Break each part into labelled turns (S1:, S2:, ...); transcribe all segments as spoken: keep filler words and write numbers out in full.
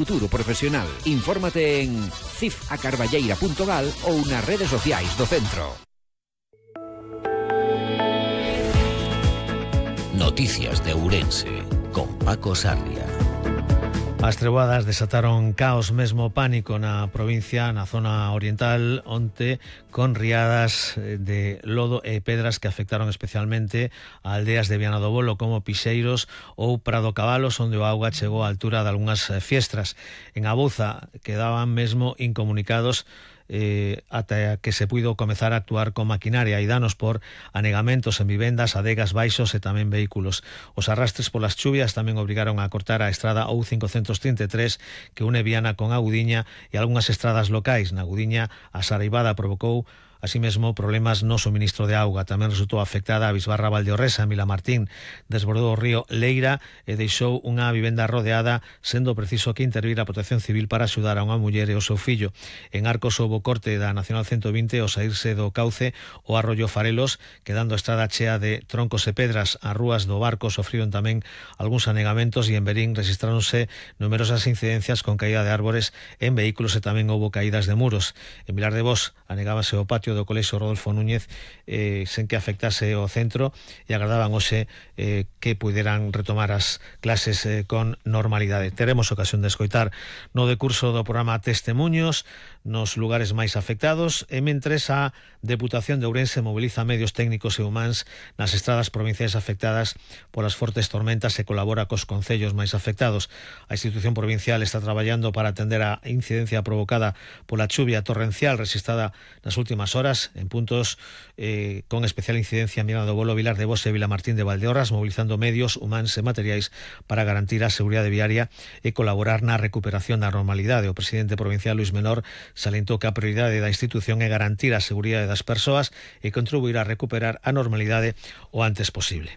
S1: Futuro profesional. Infórmate en cif a carballeira punto gal ou nas redes sociais do centro.
S2: Noticias de Ourense con Paco Sarria.
S3: As treboadas desataron caos, mesmo pánico na provincia, na zona oriental, onte, con riadas de lodo e pedras que afectaron especialmente a aldeas de Viana do Bolo como Pixeiros ou Prado Cabalos, onde o auga chegou á altura de algunhas fiestras. En Abouza quedaban mesmo incomunicados Eh, ata que se puido comezar a actuar con maquinaria e danos por anegamentos en vivendas, adegas baixos e tamén vehículos. Os arrastres polas chuvias tamén obrigaron a cortar a estrada O cincocentos trinta e tres que une Viana con Agudiña e algunhas estradas locais. Na Agudiña a saraivada provocou así mesmo problemas no suministro de auga. Tamén resultou afectada a Bisbarra Valdeorresa, en Vilamartín. Desbordou o río Leira e deixou unha vivenda rodeada, sendo preciso que intervir a Protección Civil para axudar a unha muller e o seu fillo. En Arcos houbo corte da Nacional ciento vinte ao saírse do cauce o arroyo Farelos, quedando a estrada chea de troncos e pedras. As rúas do Barco sofriron tamén algúns anegamentos e en Berín registráronse numerosas incidencias con caída de árbores en vehículos e tamén houbo caídas de muros. En Vilar de Bos anegábase o patio do Colexio Rodolfo Núñez eh, sen que afectase o centro e agardaban hoxe eh, que puderan retomar as clases eh, con normalidade. Teremos ocasión de escoitar no decurso do programa Testemuños nos lugares máis afectados e mentres a Deputación de Ourense moviliza medios técnicos e humáns nas estradas provinciais afectadas polas fortes tormentas e colabora cos concellos máis afectados. A institución provincial está traballando para atender a incidencia provocada pola chuvia torrencial registrada nas últimas horas en puntos eh, con especial incidencia en Viana do Bolo, Vilar de Bos e Vilamartín de Valdeorras, mobilizando medios humáns e materiais para garantir a seguridade viaria e colaborar na recuperación da normalidade. O presidente provincial Luís Menor salientou que a prioridade da institución é garantir a seguridade das persoas e contribuir a recuperar a normalidade o antes posible.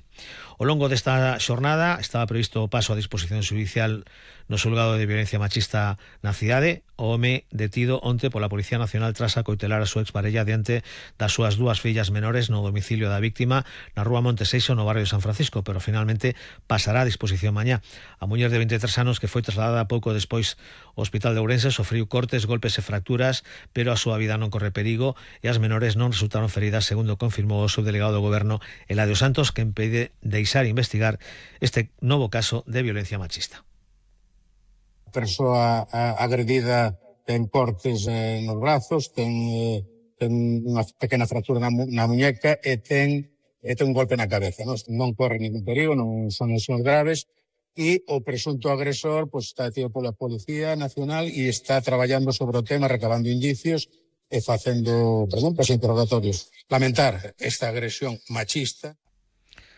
S3: Ao longo desta xornada estaba previsto o paso a disposición judicial no xulgado de violencia machista na cidade. O home detido onte pola Policía Nacional tras acoitelar a súa exparella diante das súas dúas fillas menores no domicilio da víctima na rúa Monteseixo no barrio de San Francisco, pero finalmente pasará a disposición mañá. A muller de vinte e tres anos que foi trasladada pouco despois ao Hospital de Ourense sofriu cortes, golpes e fracturas, pero a súa vida non corre perigo e as menores non resultaron feridas, segundo confirmou o subdelegado do Goberno Eladio Santos, que impide deixar investigar este novo caso de violencia machista.
S4: A persoa agredida ten cortes eh, nos brazos, ten, eh, ten unha pequena fractura na, na muñeca e ten, e ten un golpe na cabeza. Non, non corre ningún perigo, non son lesiones graves e o presunto agresor pues, está detido pola Policía Nacional e está traballando sobre o tema, recabando indicios e facendo preguntas e interrogatorios. Lamentar esta agresión machista.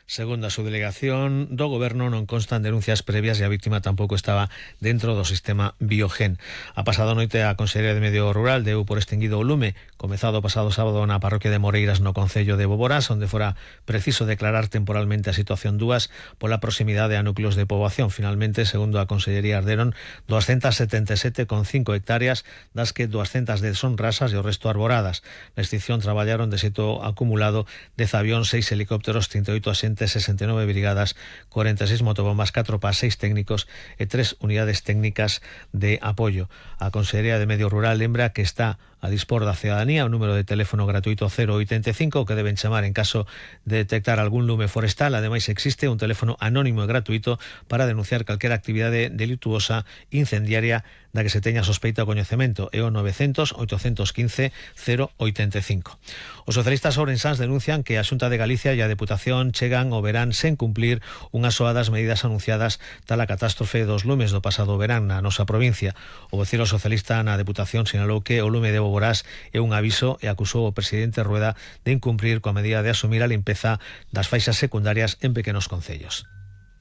S3: Segundo a subdelegación do Goberno, non constan denuncias previas e a víctima tampouco estaba dentro do sistema Biogen. A pasada noite a Consellería de Medio Rural deu por extinguido o lume comezado o pasado sábado na parroquia de Moreiras no concello de Boborás, onde fora preciso declarar temporalmente a situación dúas pola proximidade a núcleos de poboación. Finalmente, segundo a Consellería, arderon doscientas setenta e sete coma cinco hectáreas, das que doscientas dez son rasas e o resto arboradas. Na extinción traballaron de xeito acumulado dez avións, seis helicópteros, trinta e oito axentes, sesenta e nove brigadas, cuarenta e seis motobombas, catro P A S, seis técnicos e tres unidades técnicas de apoio. A Consellería de Medio Rural lembra que está a dispor da cidadanía o número de teléfono gratuito cero oitenta e cinco que deben chamar en caso de detectar algún lume forestal. Ademais, existe un teléfono anónimo e gratuito para denunciar calquera actividade delituosa incendiaria da que se teña sospeita ou coñecemento, é o novecientos, oitocentos quince, cero oitenta e cinco. Os socialistas ourensáns denuncian que a Xunta de Galicia e a Deputación chegan ao verán sen cumplir unha soa das medidas anunciadas tal a catástrofe dos lumes do pasado verán na nosa provincia. O vocero socialista na Deputación sinalou que o lume de Boborás é un aviso e acusou o presidente Rueda de incumprir coa medida de asumir a limpeza das faixas secundarias en pequenos concellos.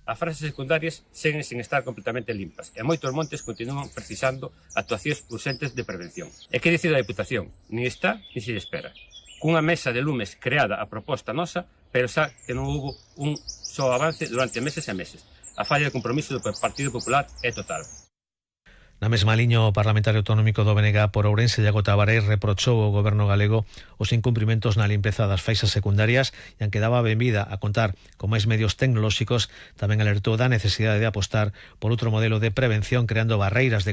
S5: As faixas secundarias seguen sin estar completamente limpas e moitos montes continúan precisando actuacións urxentes de prevención. E que dicir da Deputación? Nin está, nin se espera. Cunha mesa de lumes creada a proposta nosa, pero xa que non houbo un só avance durante meses e meses. A falla de compromiso do Partido Popular é total.
S3: Na mesma liña, o parlamentario autonómico do B N G por Ourense, Iago Tabaré, reprochou ao goberno galego os incumprimentos na limpeza das faixas secundarias e, aunque daba benvida a contar con máis medios tecnolóxicos, tamén alertou da necesidade de apostar por outro modelo de prevención creando barreiras de